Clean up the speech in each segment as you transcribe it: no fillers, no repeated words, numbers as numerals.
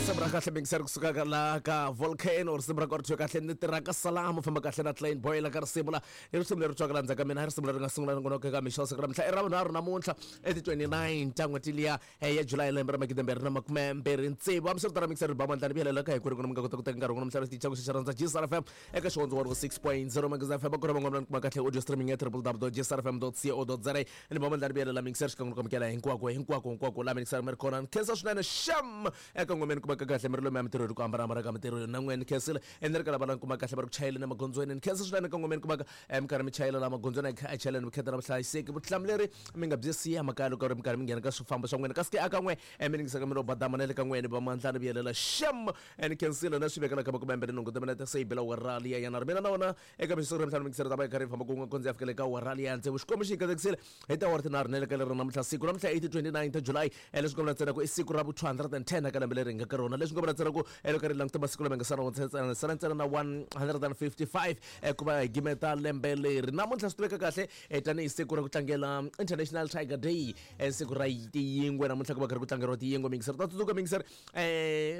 Risimu ra kahle mingiseri kusuka ka la ka Volcano, risimu ra kona kahle ni tirha ka Salamu, famba kahle na Klein Boy la ka risimu la. I risimu leri twaka la ndzhaku ka mina, i risimu leri nga sungula nongonoko eka mixo siku ra mhla i ra vunharhu namuntlha i ti 29 ta n'hweti liya ya July lembe ra 2026. Hambiswiritano mingiseri ba mandlani vuyelela ka hinkwerhu mi nga kota ku teka nkarhi wa n'wina mihla lexi xa rhandza GSR FM eka xihondzo 106.0 Magazine FM ku ri van'wana kuma kahle audio streaming ya www.gsrfm.co.za. Ni ba mandlani vuyelela mingiseri xikan'we ku amukela hinkwako hinkwako hinkwako laha mingiseri mi ri kona. Ni khensa swinene xem eka n'wina mi kumaka kahle mi ri lomu ya mintirho hi ku hambanahambana ka mintirho na n'wina ni khensile ni ri ka lava la ni kuma kahle va ri ku chayeleni emagondzweni. Ni khensa swinene eka n'wina mi kumaka mi karhi mi chayela laha magondzweni a chayeleni vukheta na vuhlayiseki, vutihlamuleri mi nga byi siya makaya loko ri mi karhi mi nghena ka swifambo swa n'wina, kasi ke aka n'we mi ningisaka mi ro badama na le ka n'wina va mandlani vuyelela xem ni khensile na swi vekela ka makumembirhi nhungu timinete se yi bela awara liya ya nharhu. Mina na wona eka mixo ra mintlhanu mingiseri ta va yi karhi yi famba kun'we kondzi ya fikele ka awara liya ya tsevu. Xikwembu xi yi katekisile hi tiawara tinharhu na le ka leri namuntlha siku namuntlha i ti 29 ta July, leswi nga vula ntsena ku i siku ra vu 210 ka lembe leri hi nga ka rona, leswi nga vula ntsena ku loko ri languta masiku lama hi nga sala ntsena sala ntsena na 155 ku va hi gimeta lembe leri. Namuntlha swi tiveka kahle tanihi siku ra ku tlangela International Tiger Day, siku ra tiyingwe. Namuntlha ku va karhi ku tlangeriwa tiyingwe mingiseri ta tsundzuka mingiseri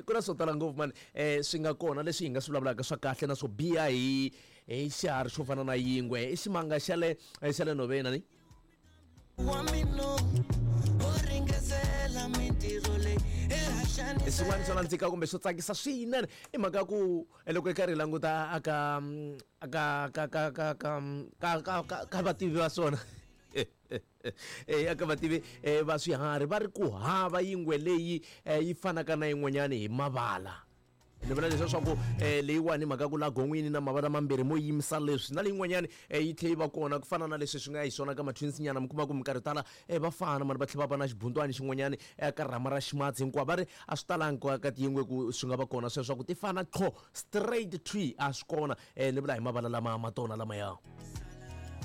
ku na swo tala ngopfu mani swi nga kona leswi hi nga swi vulavulaka swa kahle na swo biha hi hi xiharhi xo fana na yingwe. I ximanga xa le xa le nhoveni ani wa mina o ringesela mintirho leyi I swin'wana swo nandzika kumbe swo tsakisa swinene i mhaka ya ku loko hi karhi hi languta aka aka ka ka ka ka ka ka ka ka vativi va swona aka vativi va swiharhi va ri ku hava yingwe leyi yi fanaka na yin'wanyani hi mavala. Ni vula leswiya swa ku leyiwani hi mhaka ya ku la gon'wini na mavala mambirhi mo yimisa leswi na leyin'wanyani yi tlhe yi va kona ku fana na leswi swi nga hi swona ka ma-twins nyana, mi kuma ku minkarhi yo tala va fana mara va tlhe va va na xibuntwani xin'wanyani ka rhama ra ximatsi hinkwavo va ri a swi talangi ka ka tiyingwe ku swi nga va kona sweswo swa ku ti fana qho straight tree a swi kona. Ni vula hi mavala lama ma tona lamaya.